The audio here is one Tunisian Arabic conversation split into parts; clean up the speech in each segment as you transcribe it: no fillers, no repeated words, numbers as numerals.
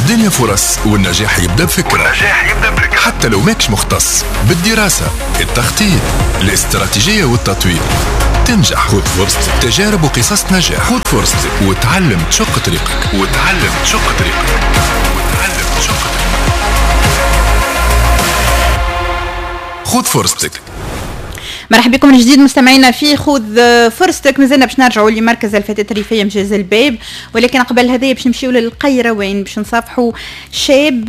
الدنيا فرص والنجاح يبدأ بفكرة، حتى لو ماكش مختص بالدراسة، التخطيط، الاستراتيجية والتطوير تنجح. خذ فرصتك، تجارب وقصص نجاح. خذ فرصتك وتعلم تشق طريقك، وتعلم تشق طريقك، وتعلم تشق طريقك. خذ فرصتك. مرحبا بكم من جديد مستمعينا في خذ فرصتك. مازلنا باش نرجعوا لمركز الفتاة الريفية مجاز الباب، ولكن قبل هذا باش نمشيو للقيروان باش نصافحوا شاب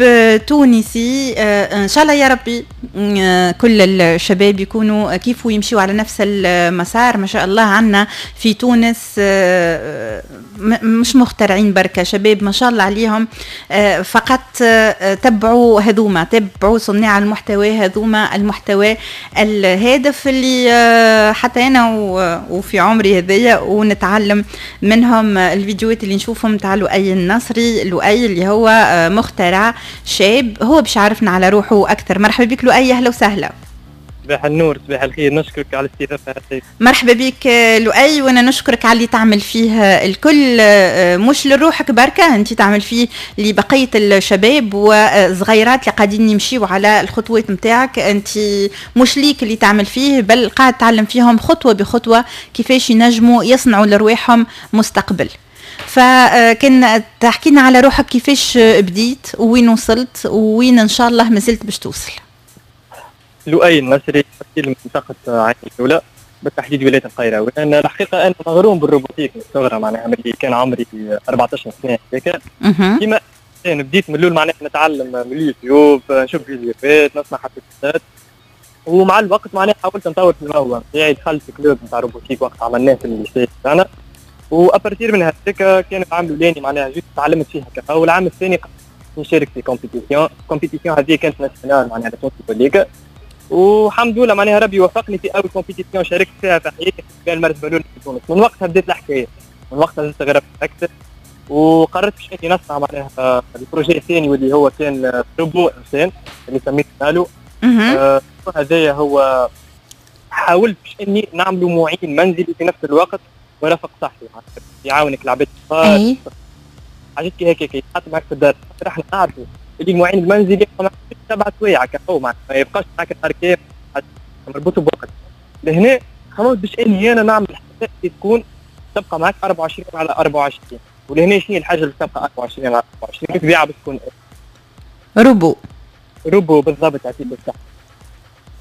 تونسي. ان شاء الله يا ربي كل الشباب يكونوا كيف يمشيوا على نفس المسار. ما شاء الله عندنا في تونس مش مخترعين بركة، شباب ما شاء الله عليهم، فقط تبعوا هذوما، تبعوا صناع المحتوى هذوما، المحتوى الهادف اللي حتى انا وفي عمري هذيا ونتعلم منهم. الفيديوهات اللي نشوفهم تاع لؤي النصري، لؤي اللي هو مخترع شاب، هو باش يعرفنا على روحه اكثر. مرحبا بك لؤي، اهلا وسهلا. صباح النور، صباح الخير، نشكرك على الاستضافة. مرحبا بك لؤي، وانا نشكرك على اللي تعمل فيه الكل، مش لروحك بركة، انت تعمل فيه لبقية الشباب وصغيرات اللي قاعدين يمشيوا على الخطوات نتاعك. انت مش ليك اللي تعمل فيه، بل قاعد تعلم فيهم خطوة بخطوة كيفاش ينجموا يصنعوا لرواحهم مستقبل. فكان تحكينا على روحك، كيفاش بديت وين وصلت وين ان شاء الله مازلت باش توصل. لؤي النصري، من منطقة عين الدولة بالتحديد ولاية القيروان. أنا الحقيقة أنا مغروم بال robotique من الصغر، معناها ملي كان عمري 14 سنة هكاك. كيما بديت من الأول معناها نتعلم من اليوتيوب، نشوف فيديوهات، نسمع حديثات، ومع الوقت معناها حاولت نطور في الموهبة نتاعي. دخلت في club نتاع robotique وقت عملناه في ال lycée تاعنا، و à partir من هذاك كان العام الأولاني معناها جيت تعلمت فيها كفا، والعام الثاني نشارك في compétition. ال compétition هذه كانت nationale معناها تونس كليكا، والحمد لله معناها ربي وفقني في اول compétition شاركت فيها في حياتي، كان المرتبة الاولى في تونس. من وقتها بديت الحكاية، من وقتها زدت غربت اكثر، وقررت باش اني نصنع معناها ال projet الثاني واللي هو كان روبو انسان اللي سميته نالو. هذايا هو حاولت باش اني نعملوا معين منزلي في نفس الوقت ورفق صحي، يعاونك العباد الصغار، حاجات كي هكاك يتحط معك في الدار. احنا نعرفوا اللي المعين المنزلي يبقى معك 7 سوايع كهو، ما يبقاش معك نهار كامل، مربوط بوقت. لهنا خممت باش اني انا نعمل حاجة تكون تبقى معك 24 على 24. ولهنا شنو الحاجة اللي تبقى 24 على 24؟ بالطبيعة باش تكون robot. robot بالضبط، يعطيك الصحة.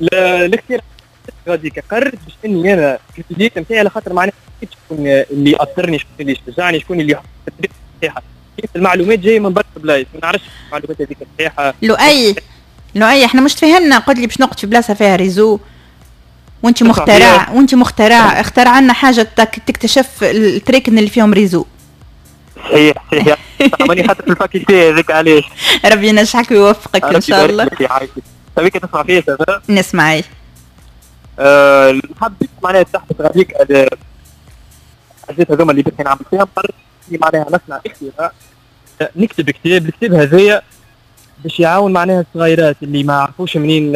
الاختيار غاديك قررت باش اني انا في البداية نتاعي، على خاطر معناها شكون اللي يأثرني، شكون اللي يشجعني، شكون اللي يحط الطريقة الصحيحة. المعلومات جاية من برشا بلايص، ما نعرفش المعلومات هذيك صحيحه. لؤي لؤي احنا مش تفهمنا، قلت لي باش نقعد في بلاصة فيها réseau، وانت مخترع، وانت مخترع، اخترع لنا حاجة تكتشف التريكن اللي فيهم réseau. صحيح صحيح، ماني خاطر في ال faculté هذاك علاش. ربي ينجحك ويوفقك ان شاء الله. تبيك تسمع فيا؟ نسمع. حبيت معناها تحت غاديك الحاجات هذوما اللي باش نعمل فيها، قررت معناها نصنع اختراع، نكتب كتاب. الكتاب هذايا باش يعاون معناها الصغيرات اللي ما عرفوش منين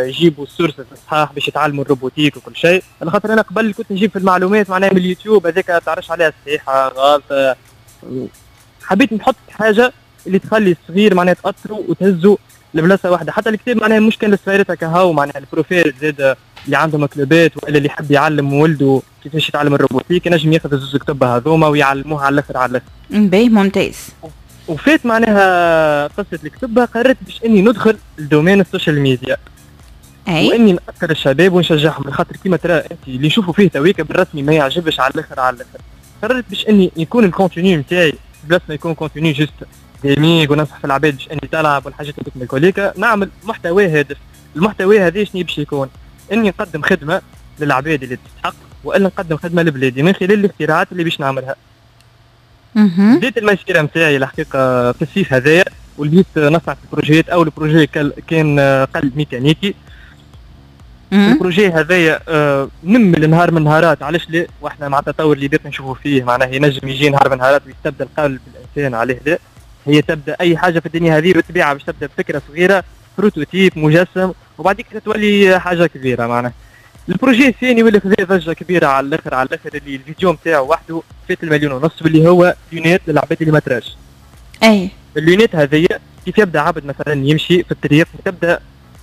يجيبوا ال source الصحاح باش يتعلموا ال robotique وكل شيء. على خاطر انا قبل كنت نجيب في المعلومات معناها من اليوتيوب، هذاك تعرفش عليها صحيحه غلط. حبيت نحط حاجة اللي تخلي الصغير معناها تاثره وتهزه لبلاصه واحدة. حتى الكتاب معناها مش كان للصغيرات هكا، معناها ال profs زاد اللي عندهم كلوبات والا اللي يحب يعلم ولده كيفاش يتعلم ال robotique ينجم ياخذ الزوز كتب هذوما ويعلموها على الاخر على الاخر. باهي ممتاز. وفات معناها قصة الكتب، قررت باش اني ندخل ال domaine ال social media. أي؟ واني نأثر الشباب ونشجعهم، خاطر كيما ترى انت اللي يشوفوا فيه تويكا بالرسمي ما يعجبش على الاخر على الاخر. قررت باش اني يكون ال contenu نتاعي بلاص ما يكون contenu juste gaming وننصح في العباد باش اني تلعب والحاجات هذوك من الكوليكا، نعمل محتوى هادف. المحتوى هذا شنو باش يكون؟ اني نقدم خدمة للعباد اللي تستحق، والا نقدم خدمة لبلادي من خلال الاختراعات اللي باش نعملها. بديت المسيرة نتاعي الحقيقة في الصيف هذايا، وليت نصنع في البروجيات. اول projet كان قلب ميكانيكي. ال projet هذايا نمل نهار من نهارات، علاش لا؟ واحنا مع التطور اللي باقي نشوفوا فيه معناه ينجم يجي نهار من نهارات ويستبدل قلب الانسان، عليه لا؟ هي تبدا اي حاجة في الدنيا هذه بالطبيعة باش تبدا بفكره صغيرة، prototype مجسم، وبعد كده تولي حاجة كبيرة. معناها ال projet الثاني واللي خذا ضجه كبيرة على الاخر على الاخر، اللي الفيديو نتاعو وحده فات 1.5 مليون، واللي هو lunettes للعباد اللي ما تراش. اي ال lunette هذه كيف يبدا عبد مثلا يمشي في الطريق وتبدا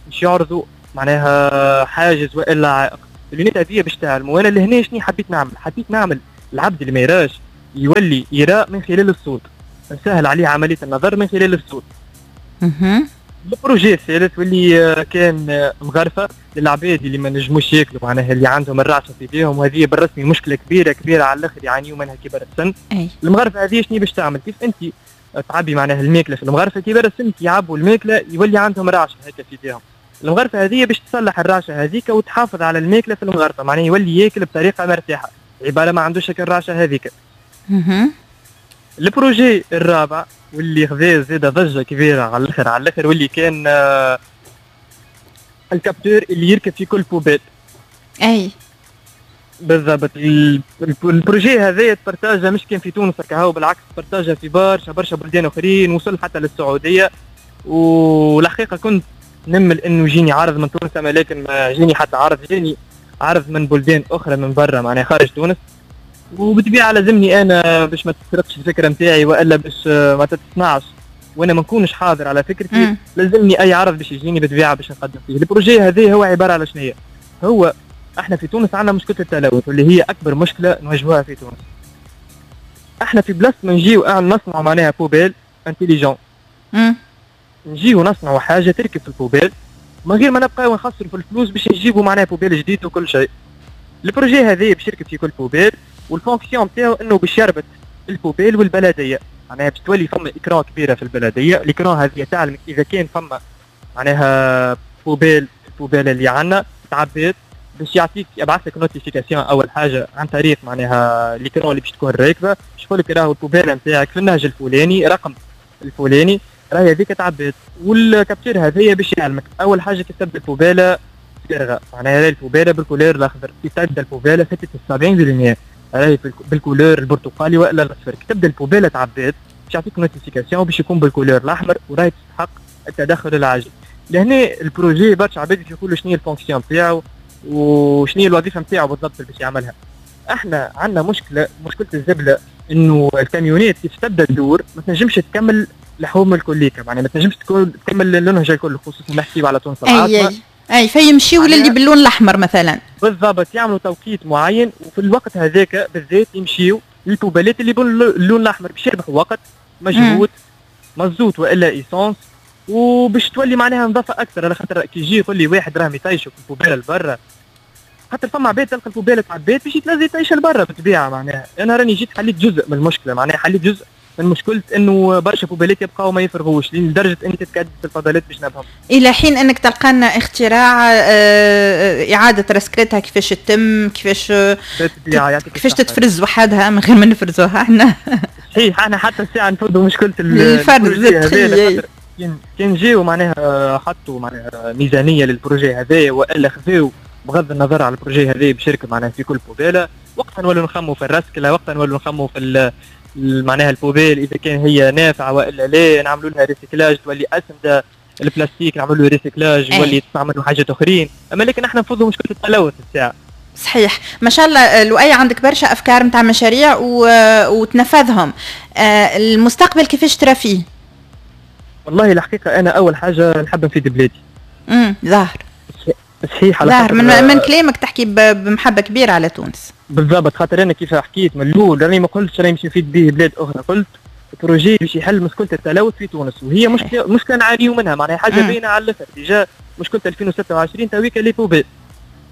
باش يعرضوا معناها حاجز والا عائق، ال lunette هذه باش تعلموا. وانا لهنا شنو حبيت نعمل؟ حبيت نعمل العبد اللي ما يراش يولي يرى من خلال الصوت، نسهل عليه عملية النظر من خلال الصوت. ال projet الثالث واللي كان مغرفه للعباد اللي ما نجموش ياكلوا، معناها اللي عندهم الرعشه في ايديهم، وهذه بالرسمي مشكلة كبيرة كبيرة على الاخر يعانيوا منها كبار السن. المغرفه هذه شنو باش تعمل؟ كيف انت تعبي معناها الماكلة في المغرفه، كبار السن كي يعبوا الماكلة يولي عندهم رعشه هكا في ايديهم. المغرفه هذه باش تصلح الرعشه هذيك وتحافظ على الماكلة في المغرفه، معناها يولي ياكل بطريقة مرتاحة، عبارة ما عندوش هكا الرعشه هذيك. ال projet الرابع واللي خذا زاد ضجه كبيرة على الاخر على الاخر، واللي كان ال capteur اللي يركب في كل poubelle. اي بالضبط. ال projet هذا partageا مش كان في تونس كهو، بالعكس partageا في برشا برشا بلدان اخرين، وصل حتى للسعودية. والحقيقة كنت نمل انه يجيني عرض من تونس، اما لكن ما جيني حتى عرض، جاني عرض من بلدان اخرى من برا معناها خارج تونس. وبالطبيعه لازمني انا باش ما تسرقش الفكرة نتاعي والا باش ما تتصنعش وانا ما نكونش حاضر على فكرتي، لازمني اي عرض باش يجيني بالطبيعة باش نقدم فيه. ال projet هذا هو عبارة على شنو؟ هو احنا في تونس عندنا مشكلة التلوث واللي هي اكبر مشكلة نواجهوها في تونس. احنا في بلاصة ما نجيو نصنعوا معناها poubelle intelligente، نجيو نصنعوا حاجة تركب في ال poubelle من غير ما نبقاو نخسروا في الفلوس باش نجيبوا معناها poubelle جديد وكل شيء. ال projet هذا باش يركب في كل poubelle، وال fonction نتاعو انه باش يربط ال poubelle والبلديه، معناها باش تولي فما écran كبيرة في البلدية، ال écran هذه تعلم اذا كان فما معناها poubelle، ال poubelle اللي عندنا تعبيت باش يعطيك يبعث لك notification اول حاجة عن طريق معناها l'écran اللي باش تكون راكبه، باش يقول لك راهو ال poubelle نتاعك في النهج الفلاني رقم الفلاني راهي هذيك تعبيت. وال capteur هذايا باش يعلمك اول حاجة كي تبدا ال poubelle فارغة، معناها راهي ال poubelle بال couleur الاخضر، كي تبدا ال poubelle فاتت 70% راهي بال couleur البرتقالي والا الاصفر، كي تبدا ال poubelle تعبيت باش يعطيك notification باش يكون بال couleur الاحمر وراهي تستحق التدخل العاجل. لهنا ال projet برشا عباد باش يقولوا شنو هي ال fonction نتاعو وشنو هي الوظيفة نتاعو بالضبط اللي باش يعملها. احنا عندنا مشكلة الزبله، انه الكاميونات كيف تبدا تدور ما تنجمش تكمل الحومه الكليكه، معناها ما تنجمش تكمل النهج الكل، خصوصا نحكيو على تونس العاصمة. اي فيمشيو للي باللون الاحمر مثلا. بالضبط، يعملوا توقيت معين وفي الوقت هذاك بالذات يمشيو لل poubelleات اللي باللون الاحمر باش يربحوا وقت مجهود مازوت والا essence، وباش تولي معناها نظافة اكثر. على خاطر كي يجي يقول لي واحد راه يطيشوا في ال poubelle لبرا، خاطر فما عباد تلقى ال poubelle تعبات باش يتلز يطيش لبرا بالطبيعة. معناها انا راني جيت حليت جزء من المشكلة، معناها حليت جزء من مشكلة انه برشا poubelleات يبقاو ما يفرغوش لدرجة ان تتكدس الفضلات باش نبهم. الى حين انك تلقى لنا اختراع اعاده رسكلتها كيفاش تتم، كيفاش تتفرز وحدها من غير ما نفرزوها احنا. صحيح، احنا حتى الساعة نفرضوا مشكلة الفرز. كان جاو معناها حطوا معناها ميزانية لل projet هذايا والا خذاو بغض النظر على ال projet هذايا بشركه معناها في كل poubelle، وقتها نولوا نخموا في الرسكله، وقتها نولوا نخموا في معناها ال poubelle اذا كان هي نافعة والا لا، نعملوا لها recyclage تولي اسمده، البلاستيك نعملوا له recyclage يولي تستعملوا حاجات اخرين، اما لكن احنا نفضوا مشكلة التلوث الساعة. صحيح، ما شاء الله لؤي عندك برشا افكار نتاع مشاريع وتنفذهم. المستقبل كيفاش ترى فيه؟ والله الحقيقة انا اول حاجة نحب نفيد بلادي. ظاهر صحيح، على ظاهر من كلامك تحكي بمحبة كبيرة على تونس. بالضبط، خاطر انا كيف حكيت من الاول راني ما قلتش راني باش نفيد به بلاد اخرى، قلت projet باش يحل مشكلة التلوث في تونس، وهي مشكلة نعانيو منها، معناها حاجة باينة على الاخر. déjà مشكلة 2026 تويكا les poubelles.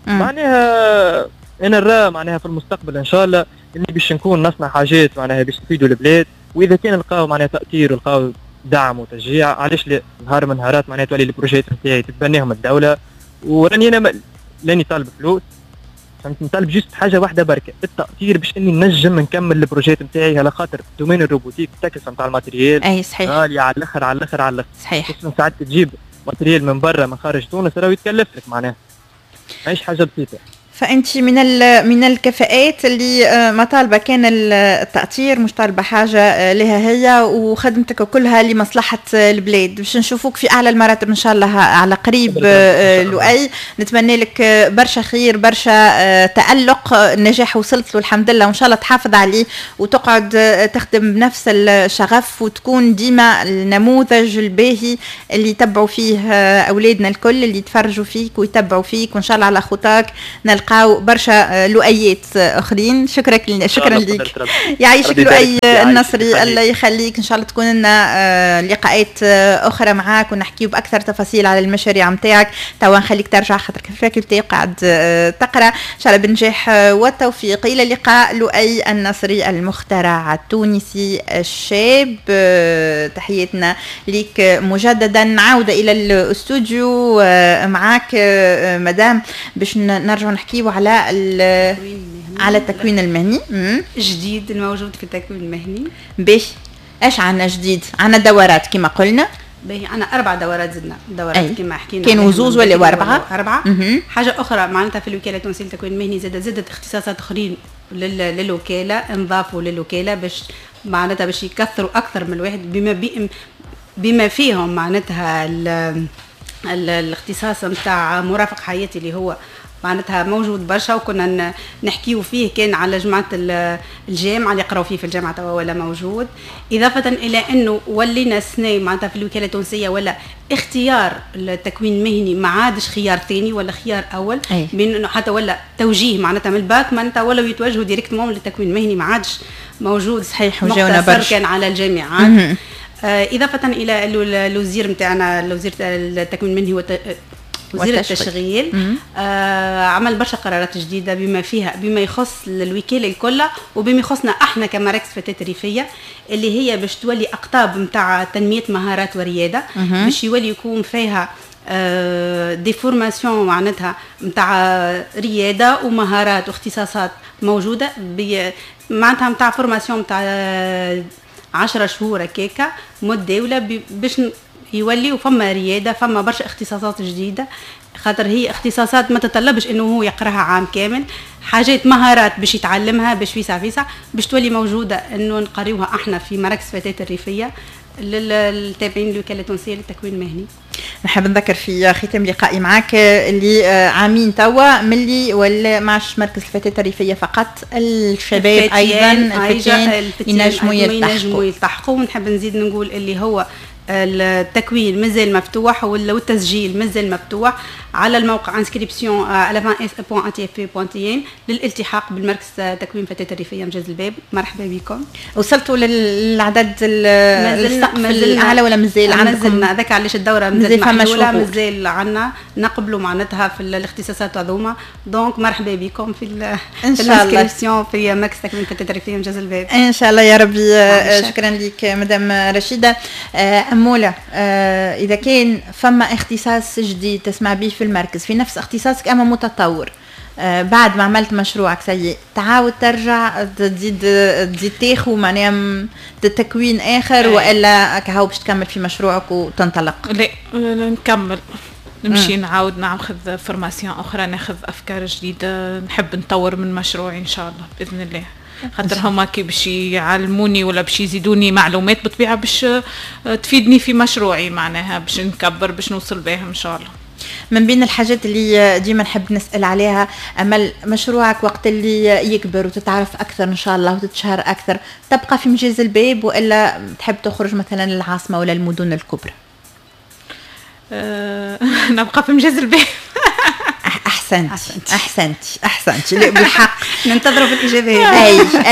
معناها انا نرى معناها في المستقبل ان شاء الله اني باش نكون نصنع حاجات معناها باش نفيدوا البلاد، واذا كان نلقاو معناها تاثير ولقاو دعم وتشجيع علاش لا، نهار من نهارات معناها تولي ال projets نتاعي تتبناهم الدولة. وراني انا لاني طالب فلوس، فهمت، نطالب juste حاجة واحدة بركة، التاثير باش اني نجم نكمل ال projets نتاعي، على خاطر domaine ال robotique التكلفة نتاع ال matériel اي صحيح غالية على الاخر على الاخر على الاخر. صحيح، خصوصا ساعات تجيب matériel من برا من خارج تونس راهو يتكلف لك، معناها ماهيش حاجة بسيطة. فانت من الكفاءات اللي ما طالبه كان التأطير، مش طالبه حاجة لها هي، وخدمتك كلها لمصلحة البلاد. باش نشوفوك في اعلى المراتب ان شاء الله على قريب لؤي. نتمنى لك برشا خير، برشا تألق، النجاح وصلت له الحمد لله، وان شاء الله تحافظ عليه وتقعد تخدم بنفس الشغف، وتكون ديما النموذج الباهي اللي يتبعوا فيه اولادنا الكل، اللي يتفرجوا فيك ويتبعوا فيك، وان شاء الله على خطاك نلقاو برشا لؤيات اخرين. شكرا شكرا لك، يعيشك لؤي النصري، الله يخليك. ان شاء الله تكون لنا لقاءات اخرى معاك ونحكيو باكثر تفاصيل على المشاريع نتاعك. توا نخليك ترجع خاطر في faculté قاعد تقرا. ان شاء الله بالنجاح والتوفيق. الى اللقاء لؤي النصري المخترع التونسي الشاب، تحياتنا ليك مجددا. عوده الى الاستوديو معاك مدام باش نرجع نحكيو على على التكوين المهني الجديد الموجود في التكوين المهني. باش ايش عندنا جديد؟ عندنا دورات كما قلنا. باهي، عندنا 4 دورات، زدنا دورات كما حكينا، كانوا زوز ولا 4؟ 4. حاجة اخرى معناتها في الوكالة التونسية للتكوين المهني زادت اختصاصات اخرين للوكاله، انضافوا للوكاله باش معناتها باش يكثروا اكثر من الواحد بما فيهم معناتها الاختصاص نتاع مرافق حياتي اللي هو معناتها موجود برشا، وكنا نحكيو فيه كان على جماعة الجامعة اللي يقراو فيه في الجامعة توا ولا موجود. اضافه الى انه ولينا السنة معناتها في الوكالة التونسية ولا اختيار التكوين المهني ما عادش خيار ثاني ولا خيار اول، بين انه حتى ولا توجيه معناتها من الباك معناتها ولاو يتوجهوا directement للتكوين المهني، ما عادش موجود. صحيح، وجاونا برشا كان على الجامعات. اضافه الى الوزير نتاعنا، الوزير التكوين المهني وزير التشغيل عمل برشا قرارات جديدة بما فيها بما يخص الوكالة الكل وبما يخصنا احنا كمراكز فتاة ريفيه، اللي هي باش تولي اقطاب نتاع تنمية مهارات ورياده، باش يولي يكون فيها des formations معناتها نتاع رياده ومهارات واختصاصات موجودة، معناتها نتاع formation نتاع 10 شهور هكاكا متداوله باش يولي وفما رياده، فما برشا اختصاصات جديدة، خاطر هي اختصاصات ما تطلبش انه هو يقراها عام كامل، حاجات مهارات باش يتعلمها باش فيسع فيسع باش تولي موجودة انه نقريوها احنا في مراكز فتاة الريفية للتابعين للوكاله التونسية للتكوين المهني. نحب نذكر في ختام لقائي معك اللي عامين توا ملي ولا معش مركز الفتاة الريفية فقط، الشباب ايضا الفتيان ينجموا يلتحقوا. ونحب نزيد نقول اللي هو التكوين مازال مفتوح والتسجيل مازال مفتوح على الموقع inscription@.atfp.tn للالتحاق بالمركز تكوين فتاة الريفية مجاز الباب. مرحبا بكم. وصلتوا للعدد السقف الاعلى ولا مازال عندكم؟ هذاك علاش الدورة مازال محلولة، مازال عندنا نقبلوا معناتها في الاختصاصات هذوما. donc مرحبا بكم في ال inscription في مركز تكوين فتاة الريفية مجاز الباب ان شاء الله يا ربي. شكرا لك مدام رشيده. أمولة، إذا كان فما اختصاص جديد تسمع به في المركز في نفس اختصاصك أما متطور، بعد ما عملت مشروعك سيء تعاود ترجع تزيد تاخو معناها تكوين آخر، وإلا كهو باش تكمل في مشروعك وتنطلق؟ لا نكمل، نمشي نعاود ناخذ formation أخرى، ناخذ أفكار جديدة، نحب نطور من مشروعي إن شاء الله بإذن الله. خاطر هما كي باش يعلموني ولا باش يزيدوني معلومات بالطبيعة باش تفيدني في مشروعي، معناها باش نكبر باش نوصل بها ان شاء الله. من بين الحاجات اللي ديما نحب نسال عليها، امل مشروعك وقت اللي يكبر وتتعرف اكثر ان شاء الله وتتشهر اكثر، تبقى في مجاز الباب والا تحب تخرج مثلا للعاصمه ولا المدن الكبرى؟ نبقى في مجاز الباب. احسنت احسنت احسنت. لا بالحق ننتظروا في الاجابة.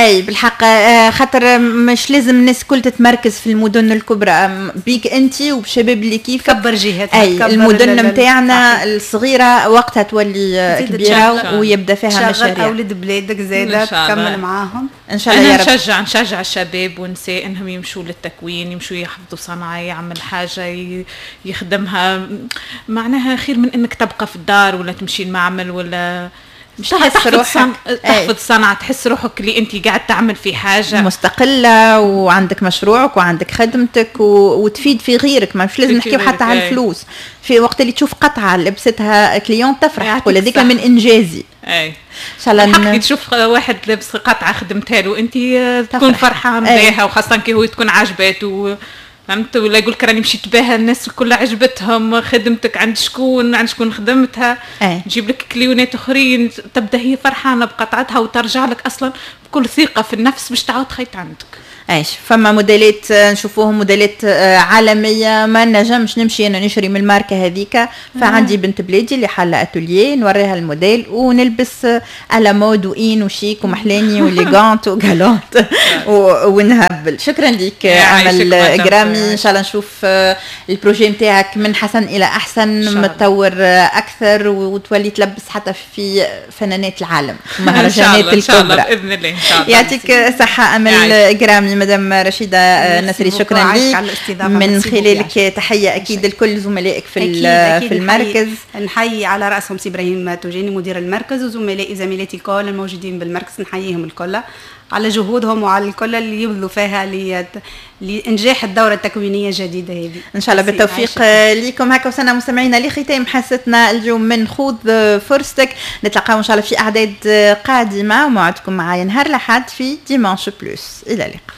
اي بالحق، خاطر مش لازم الناس الكل تتمركز في المدن الكبرى، بيك انت وبشباب اللي كيف كبر جهتها، اي المدن نتاعنا الصغيرة وقتها تولي كبيرة ويبدا فيها مشاريع. اولاد بلادك زاده تكمل معاهم ان شاء الله يا رب. نشجع الشباب والنساء انهم يمشوا للتكوين، يمشوا يحفظوا صنعه، يعمل حاجة يخدمها، معناها خير من انك تبقى في الدار ولا تمشي المعمل ولا مش تحس روحك تحفظ صنعة، تحس روحك اللي انت قاعد تعمل في حاجة مستقلة وعندك مشروعك وعندك خدمتك وتفيد في غيرك. ما مش لازم نحكيو حتى على الفلوس، في وقت اللي تشوف قطعة لبستها cliente تفرح، تقول هذيك من انجازي. اي ان شاء الله كي تشوف واحد لابس قطعة خدمتها له انت تكون فرحان بها، وخاصة كي هو تكون عجباته، فهمت؟ ولا يقول لك راني مشيت بها الناس الكل عجبتهم خدمتك، عند شكون خدمتها، نجيب لك كليونات اخرين، تبدا هي فرحانة بقطعتها وترجع لك اصلا بكل ثقة في النفس باش تعاود تخيط عندك. ايش فما موديلات نشوفوهم موديلات عالمية، ما نجمش نمشي انا نشري من الماركة هذيك، فعندي بنت بلادي اللي حاله اتوليي نوريها الموديل ونلبس à la mode وين وشيك ومحلاني و élégante و galante ونهبل. شكرا لك امل جرامي، ان شاء الله نشوف ال projet نتاعك من حسن الى احسن، متطور اكثر وتولي تلبس حتى في فنانات العالم، مهرجانات الكبرى ان شاء الله باذن الله. ان شاء الله يعطيك صحة امل جرامي. مدام رشيدة نصري شكرا لك، من خلالك تحية أكيد لكل زملائك في أكيد في المركز. نحيي على رأسهم سي إبراهيم توجيني مدير المركز، وزملائي زميلاتي الكل الموجودين بالمركز، نحييهم الكل على جهودهم وعلى الكل اللي يبذلوا فيها لإنجاح الدورة التكوينية الجديدة هذه. إن شاء الله بالتوفيق لكم. هكا وصلنا مستمعينا لختام حصتنا اليوم من خذ فرصتك، نتلاقاو إن شاء الله في أعداد قادمة، وموعدكم معايا نهار الأحد في Dimanche Plus. إلى اللقاء.